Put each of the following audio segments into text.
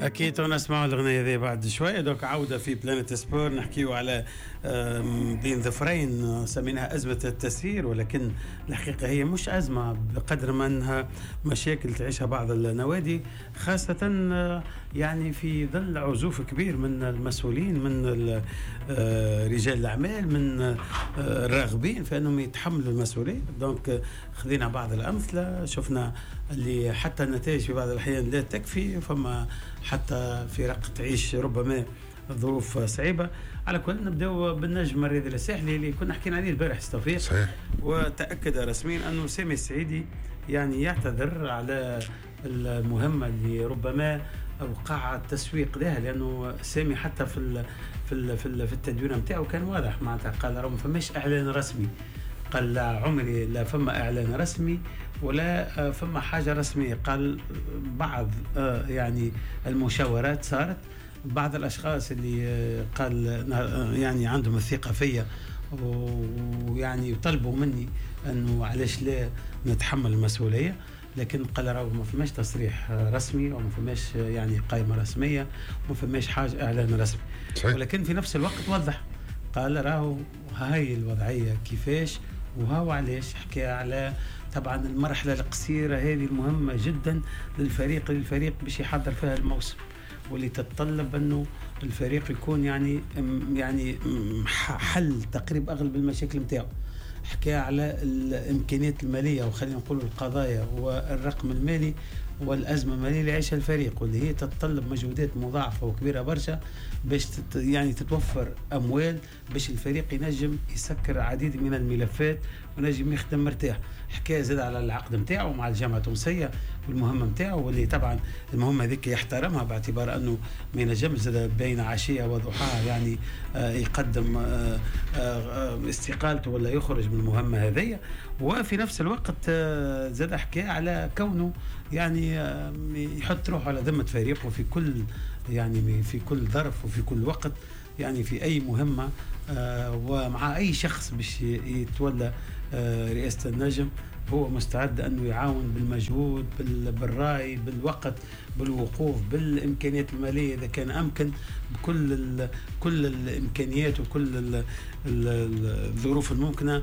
اكيد نسمعوا الاغنية هذه بعد شوية. donc عوده في Planète Sport، نحكيو على بين ظفرين سميناها ازمة التسيير، ولكن الحقيقة هي مش ازمة بقدر ما انها مشاكل تعيشها بعض النوادي، خاصة يعني في ظل عزوف كبير من المسؤولين، من رجال الاعمال، من الراغبين في انهم يتحملوا المسؤولية. donc خذينا بعض الامثله، شفنا اللي حتى النتائج في بعض الاحيان لا تكفي، فما حتى فرق تعيش ربما ظروف صعيبة. على كل نبداو بالنجم الرياضي الساحلي اللي كنا حكينا عليه البارح توفيق. صحيح. وتاكد رسميا انه سامي السعيدي يعني يعتذر على المهمة اللي ربما وقع التسويق لها، لانه سامي حتى في التدوين نتاعو كان واضح، معناتها قال راه ما فماش اعلان رسمي، قال لا عمري لا فما اعلان رسمي ولا فما حاجة رسميه. قال بعض يعني المشاورات صارت، بعض الاشخاص اللي قال يعني عندهم الثقة فيا ويعني طلبوا مني انه علاش لا نتحمل المسؤوليه، لكن قال راهو ما فماش تصريح رسمي وما فماش يعني قائمة رسمية وما فماش حاجة اعلان رسمي. صحيح. ولكن في نفس الوقت وضح، قال راهو هاي الوضعية كيفاش وهو علاش. حكى على طبعا المرحلة القصيرة هذه المهمة جدا للفريق باش يحضر فيها الموسم، واللي تتطلب انه الفريق يكون يعني حل تقريبا اغلب المشاكل نتاعو. حكى على الامكانيات المالية، وخلينا نقول القضايا والرقم المالي والازمة المالية اللي يعيشها الفريق، واللي هي تتطلب مجهودات مضاعفه وكبيره برشا باش يعني تتوفر اموال باش الفريق ينجم يسكر عديد من الملفات ونجم يخدم مرتاح. حكى زاد على العقد نتاعو مع الجامعة التونسية والمهمه نتاعو، واللي طبعا المهمة هذيك يحترمها باعتبار انه ما ينجمش زاد بين عشية وضحاها يعني يقدم استقالته ولا يخرج من المهمة هذيا. وفي نفس الوقت زاد حكى على كونه يعني يحط روحه على ذمه فريقه في كل يعني في كل ظرف وفي كل وقت، يعني في اي مهمة ومع اي شخص باش يتولى رئاسة النجم هو مستعد انه يعاون بالمجهود، بالراي، بالوقت، بالوقوف، بالامكانيات المالية اذا كان امكن، بكل كل الامكانيات وكل الظروف الممكنة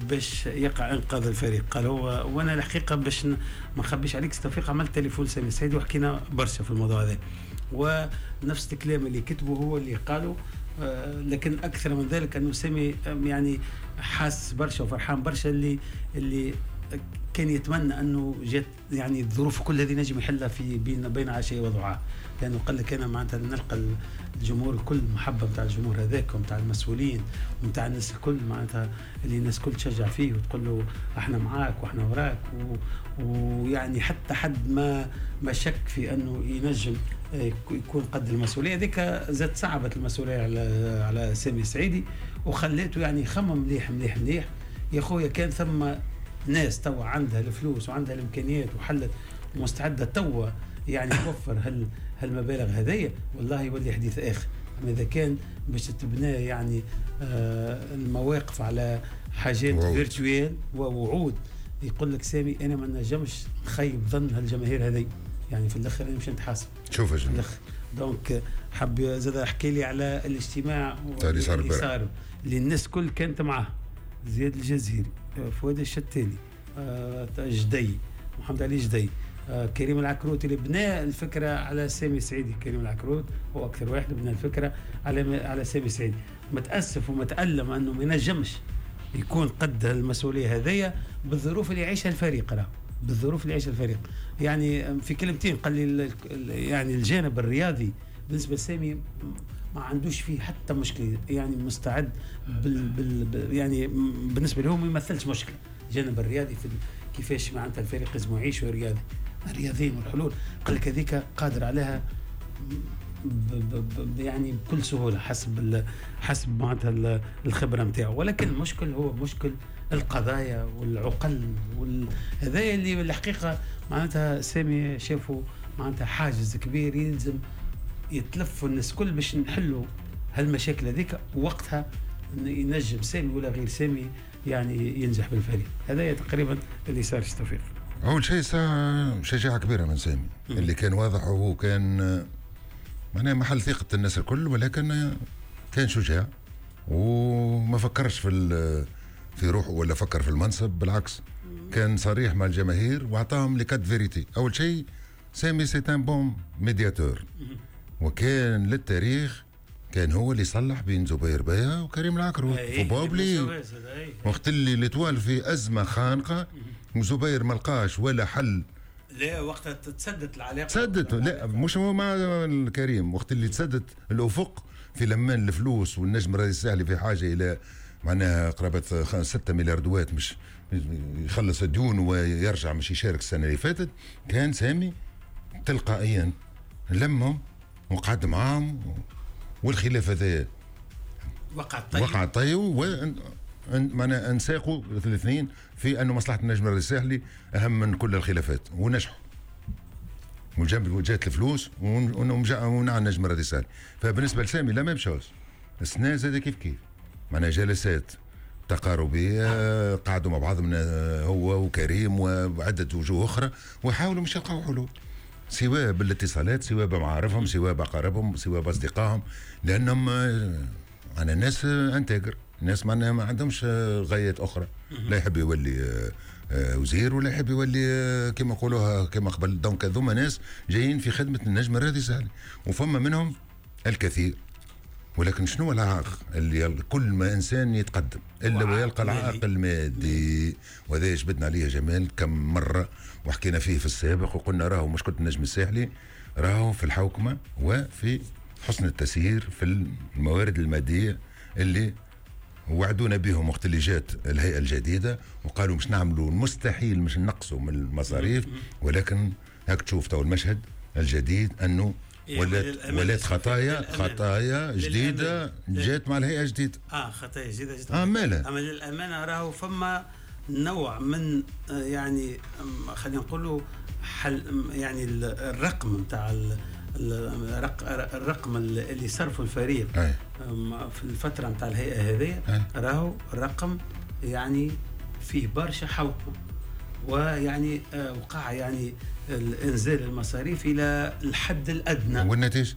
باش يقع انقاذ الفريق. قال هو، وانا الحقيقة باش ما نخبيش عليك توفيق، عملت تليفون سامي السعيدي وحكينا برشا في الموضوع هذا، ونفس الكلام اللي كتبه هو اللي قاله، لكن اكثر من ذلك انه سامي يعني حاس برشا وفرحان برشا اللي كان يتمنى انه جات يعني الظروف كل هذه نجم يحلها في بين عشية وضحاها، لانه قال لك انا معناتها نلقى الجمهور الكل، المحبة نتاع الجمهور هذاك ونتاع المسؤولين ونتاع الناس الكل، معناتها اللي الناس الكل تشجع فيه وتقول له احنا معاك واحنا وراك، ويعني حتى حد ما شك في انه ينجم يكون قد المسؤولية هذيك. زاد صعبت المسؤولية على سامي السعيدي وخليته يعني يخمم مليح مليح مليح. يا خويا كان ثم ناس توا عندها الفلوس وعندها الامكانيات وحلت ومستعده توا يعني توفر هالمبالغ هذيا، والله يولي حديث اخر. اما اذا كان باش تتبنى يعني المواقف على حاجات virtuelles ووعود، يقول لك سامي انا ما نجمش نخيب ظن هالجماهير هذي، يعني في الاخر انا مش نتحاسب. شوف يا جماعة donc حب زاد احكي لي على الاجتماع اللي صار اللي الناس كل كانت معاه، زياد الجزيري، فؤاد الشتالي، جدي محمد علي جدي، كريم العكروت اللي بنى الفكرة على سامي سعيدي. كريم العكروت هو اكثر واحد بنى الفكرة على سامي سعيدي. متاسف ومتالم انه ما ينجمش يكون قد المسؤولية هذيا بالظروف اللي يعيشها الفريق، راه بالظروف اللي يعيشها الفريق. يعني في كلمتين قال لي يعني الجانب الرياضي بالنسبة لسامي ما عندوش فيه حتى مشكلة، يعني مستعد يعني بالنسبة له ما يمثلش مشكلة الجانب الرياضي في كيفاش معناتها الفريق لازم يعيش رياضي، الرياضيين والحلول قال لك هذيك قادر عليها يعني بكل سهولة حسب معناتها الخبرة نتاعو. ولكن المشكل هو مشكل القضايا والعقل هذا اللي الحقيقة معناتها سامي شافوا معناتها حاجز كبير يلزم يتلفوا الناس كل باش نحلوا هالمشاكل هذيك، وقتها ينجم سامي ولا غير سامي يعني ينجح بالفريق. هذا تقريبا اللي صار. توفيق. اول شيء شجاعة كبيرة من سامي اللي كان واضح، وهو كان معناها محل ثقة الناس الكل، ولكن كان شجاع وما فكرش في روحه ولا فكر في المنصب، بالعكس كان صريح مع الجماهير واعطاهم les quatre vérités. اول شيء سامي c'est un bon médiateur، وكان للتاريخ كان هو اللي صلح بين زبير بيا وكريم العكرو faut pas oublier وقت اللي l'Étoile في ازمة خانقه وزبير ما لقاش ولا حل. لا وقتها تسدت العلاقة، تسدت، لا مش هو مع الكريم، وقت اللي تسدت الافق في لمان الفلوس والنجم الرياضي الساحلي في حاجة الى معناها قرابة 6 مليار دوات مش يخلص الديون ويرجع مش يشارك السنة اللي فاتت، كان سامي تلقائيا لمهم وقعد معاهم، والخلاف هذا وقع طيب معناها انساقوا الاثنين في انه مصلحة النجم الرياضي الساحلي اهم من كل الخلافات، ونجحوا وجاب جات الفلوس ونع النجم الرياضي الساحلي. فبالنسبه لسامي la même chose، السنة زاد كيف كيف معناها جلسات تقاربيه قعدوا مع بعض من هو وكريم وعده وجوه اخرى وحاولوا مش يلقاو حلول، سواء بالاتصالات سواء بمعارفهم سواء بأقاربهم سواء بأصدقائهم، لأنهم أنا ناس intègres، ناس ما عندهمش غايات أخرى، لا يحب يولي وزير ولا يحب يولي كما نقولوها كما قبل. donc هذوما ناس جايين في خدمة النجم الرياضي الساحلي، وفما منهم الكثير. ولكن شنو العائق اللي كل ما انسان يتقدم الا ويلقى العائق المادي، وهذا جبدنا عليه جمال كم مرة وحكينا فيه في السابق، وقلنا راهو مشكلة النجم الساحلي راهو في الحوكمة وفي حسن التسيير في الموارد المادية اللي وعدونا بهم وقت اللي جات الهيئة الجديدة وقالوا مش نعملوا المستحيل مش نقصوا من المصاريف، ولكن هاك تشوف تو المشهد الجديد انه ولات خطايا جديدة جات مع الهيئة الجديدة. خطايا جديدة جات. مالها؟ اما للامانة راهو فما نوع من يعني خلينا نقولوا حل، يعني الرقم نتاع الرقم اللي صرفه الفريق في الفترة نتاع الهيئة هذه راهو رقم يعني فيه برشا حوكمة، ويعني وقع يعني الانزال المصاريف الى الحد الادنى. والنتيجة؟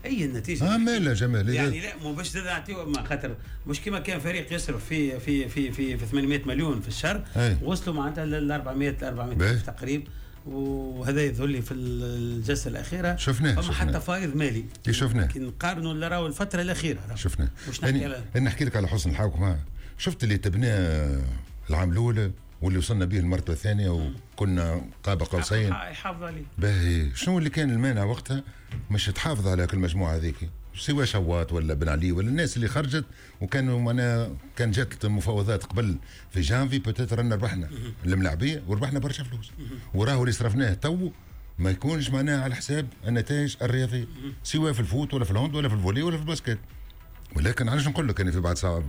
اي النتيجة؟ مالها جمال يعني لا مو باش نعطيو ما خاطر مش كما كان فريق يصرف في في في في, في 800 مليون في الشهر، وصلوا معناتها لل 400 تقريبا، وهذا يظهر لي في الجلسة الاخيرة شفناه فما حتى فائض مالي شفناه كي نقارنوا اللي راهو الفترة الاخيرة شفناه. انا نحكي لك على حسن الحوكمة، شفت اللي تبناه العام الاول واللي وصلنا به المرتبة الثانية وكنا قاب قوسين يحافظ عليه. باهي شنو اللي كان المانع وقتها مش تحافظ على كل المجموعة هذيك، سواء شواط ولا بن علي ولا الناس اللي خرجت وكانوا معناها كان جات المفاوضات قبل في جانفي peut-être رانا ربحنا الملاعبيه وربحنا برشا فلوس، وراهو اللي صرفناه تو ما يكونش معناها على حساب النتائج الرياضية سواء في ال foot ولا في ال hand ولا في ال volley ولا في ال basket. ولكن علاش نقول لك انا في بعد ساعات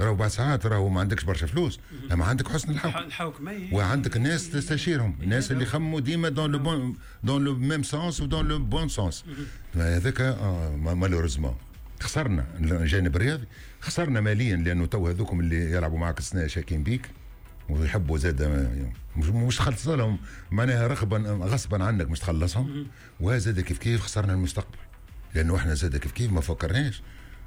راهو بعد ساعات راهو ما عندكش برشا فلوس، اما عندك حسن الحوكمة وعندك الناس تستشيرهم، الناس اللي خموا ديما dans le bon dans le même sens و dans le bon sens. هذاك malheureusement خسرنا الجانب الرياضي، خسرنا ماليا لانه تو هذوكم اللي يلعبوا معك السنة شاكين بيك ويحبوا زاد مش تخلص لهم معناها رغبا غصبا عنك مش تخلصهم، وزاد كيف كيف خسرنا المستقبل لانه احنا زاد كيف كيف ما فكرناش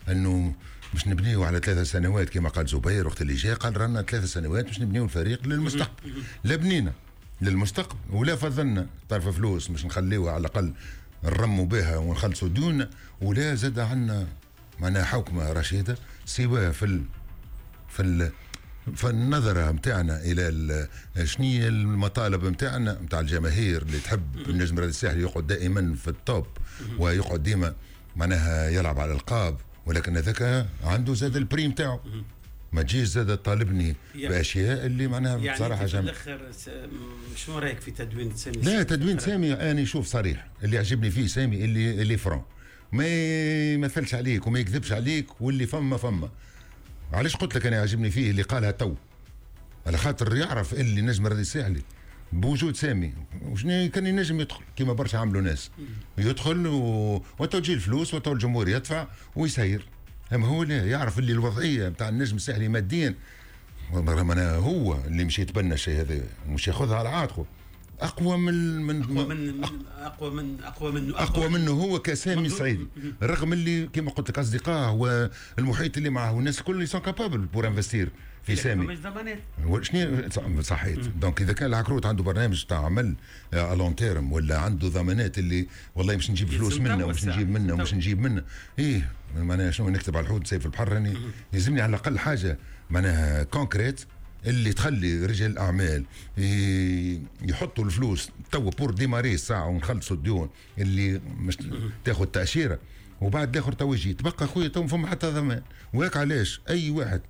انه مش نبنيو على 3 سنوات كما قال زبير وقت اللي جاء، قال رانا 3 سنوات مش نبنيو الفريق للمستقبل، لا بنينا للمستقبل ولا فضلنا طرف فلوس مش نخليوها على الاقل نرموا بها ونخلصوا ديوننا، ولا زاد عندنا معناها حوكمة رشيده سواء في فالنظرة متاعنا إلى شنية المطالب متاعنا متاع الجماهير اللي تحب النجم الرياضي الساحلي يقعد دائما في ال top ويقعد ديما معناها يلعب على الألقاب، ولكن هذاك عنده زاد ال prix متاعه، ما تجيش زاد طالبني باشياء اللي معناها يعني بصراحة في الاخر شنو رايك في تدوين سامي؟ لا تدوين سامي انا شوف صريح، اللي عجبني فيه سامي اللي franc، ما يمثلش عليك وما يكذبش عليك، واللي فما فما. علاش قلت لك انا عجبني فيه اللي قالها تو، على خاطر يعرف اللي نجم الرياضي الساحلي بوجود سامي وشنو كان ينجم يدخل كما برشا عملوا ناس يدخل وتو تجي الفلوس وتو الجمهور يدفع ويسير، اما هو لا يعرف اللي الوضعية نتاع النجم الساحلي ماديا، هو اللي مش يتبنى الشيء هذا مش ياخذها على عاتقه. اقوى من اقوى من اقوى منه هو كسامي سعيدي، رغم اللي كما قلت لك اصدقائه والمحيط اللي معه والناس الكل sont capables pour investir في سامي. مش ضمانات. شنو صحيت. donc اذا كان العكروت عنده برنامج تاع عمل à long terme ولا عنده ضمانات اللي والله مش نجيب فلوس منه ومش نجيب منه ومش نجيب منه، ايه معناها شنو نكتب على الحوت سيف البحر؟ راني يلزمني على الاقل حاجة معناها concrète اللي تخلي رجال الاعمال يحطوا الفلوس توا pour démarrer الساعة ونخلصوا الديون اللي مش تاخذ تاشيرة وبعد الاخر تو يجي. تبقى خويا تو فما حتى ضمان. وهيك علاش اي واحد،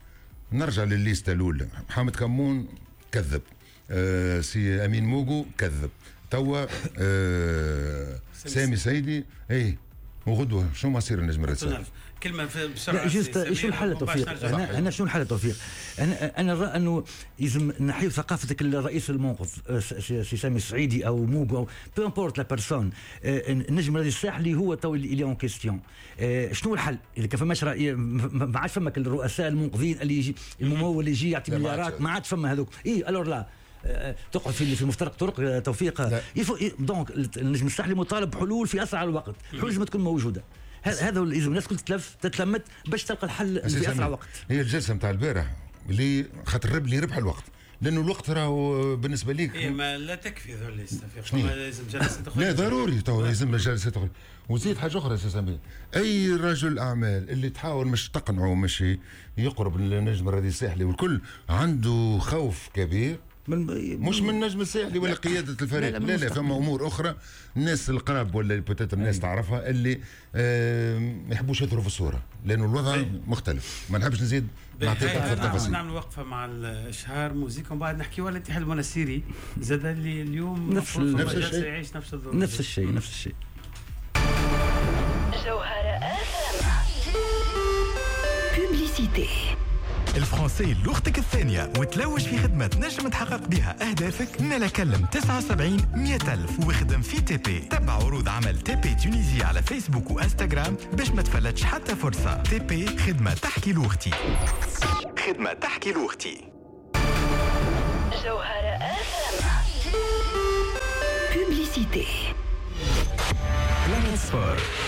نرجع للل liste الاولى، محمد كمون كذب، سي امين موغو كذب، توا سامي سيدي، ايه وغدوه شو مصير النجم الرسالي؟ كلمة بسرعه. لا juste، شو الحل توفيق؟ هنا شنو الحل توفيق؟ انا نرى انه لازم نحيو ثقافة الرئيس المنقذ سي سامي السعيدي او موغو او peu importe la personne. النجم الرياضي الساحلي هو تو اللي en question. شنو الحل؟ اذا كان فماش راي، ما عادش فما الرؤساء المنقذين اللي يجي الممول اللي يجي يعطي مليارات، ما عادش فما هذوك. اي alors là تقعد في مفترق طرق توفيق. donc النجم الساحلي مطالب بحلول في اسرع الوقت، حلول لازم تكون موجوده. هذا لازم الناس الكل تتلف تتلمت باش تلقى الحل في اسرع وقت. هي الجلسة نتاع البارح اللي خاطر اللي ربح الوقت، لانه الوقت راهو بالنسبة ليك إيه ما لا تكفي ذول، لازم جلسه اخرى. لا ضروري تو لازم جلسه اخرى. وزيد حاجة اخرى سي سمير، اي رجل اعمال اللي تحاول مش تقنعه مش يقرب للنجم الرياضي الساحلي والكل عنده خوف كبير من مش من النجم الساحلي ولا قيادة الفريق، لا لا، لا، فما امور اخرى، الناس القراب ولا peut-être الناس تعرفها اللي ما يحبوش يظهروا في الصورة لانه الوضع مختلف. ما نحبش نزيد نعطيك اكثر تفاصيل. نعمل وقفه مع الاشهار موزيكا ومن بعد نحكي على الاتحاد المنستيري زاد اللي اليوم نفس الشيء، يعيش نفس الظروف. نفس الشيء، نفس الشيء. جوهرة publicité. ال français لغتك الثانية وتلوج في خدمة تنجم تحقق بها أهدافك؟ مالا كلم 79 100 ألف واخدم في TP. تبع عروض عمل TP Tunisie على فيسبوك وانستغرام باش ما تفلتش حتى فرصة. TP، خدمة تحكي لغتي، خدمة تحكي لغتي. جوهرة publicité. Planète Sport.